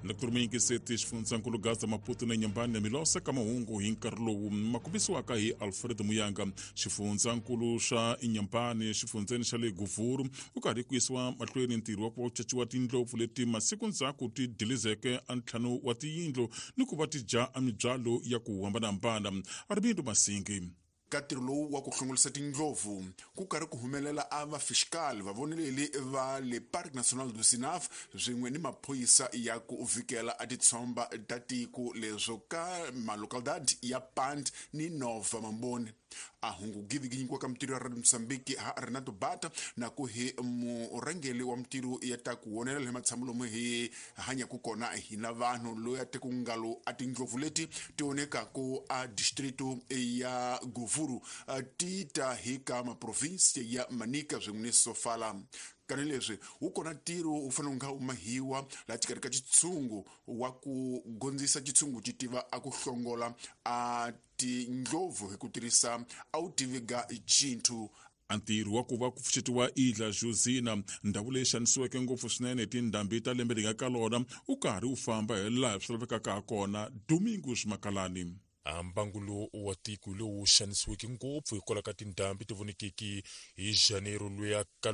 Dr Muyingiseti xifundzankulu Gaza Maputo na Nyambani na Milosa ka mahungu hi nkarhi lowu ma kombisiwaka hi Alfred Muyanga. Xifundzankulu xa Inhambane xifundzeni xa le Guvuru u karhi ku yisiwa mahlweni ntirho wa ku va ku caciwa tindlopfu leti masiku ndzhaku ti dilizeke a ntlhanu wa tiyindlu ni ku va ti dya a mibyalo ya ku hambanahambana. Armindo Masingi. Ka ntirho lowu wa ku hlongolisa tindlopfu ku karhi ku humelela a vafixikali vavoneleli va le Parque Nacional do Zinave swin'we ni maphorisa ya ku vhikela a titshomba ta tiko leswo ka malocalidade ya Pand ni Nova Mamboni. A hungu giviginyikiwa ka mintirho ya Radio Mozambique ha Renato Bata na ku hi murhangeli wa mintirho ya ta ku wonelela hi matshamo lomu hi hanyaku kona hina vanhu loyi a te ku ngalo a tindlopfu leti ti onekaku a distrito ya Govuru ti ta hi ka maprovinsi ya Manica swin'we ni Sofala. Kani leswi wu kona ntirho wu fanele wu nga wu mahiwa laha xikarhi ka xitshungu wa ku gondzisa xitshungu xi tiva a ku hlongola a tindlopfu hi ku tirhisa a wu tiviga chinthu. A ntirho wa ku va ku pfuxetiwa Ilha Josina, ndhawu leyi xanisiweke ngopfu swinene hi tindhambi ta lembe leri nga ka lona, wu karhi wu famba hi laha swi lavekaka ha kona. Domingos Makalani. A mbangu lowu wa tiko hi lowu xanisiweke ngopfu hikwalaho ka tindhambi ti vonekeke hi Janeiro loyi a ka.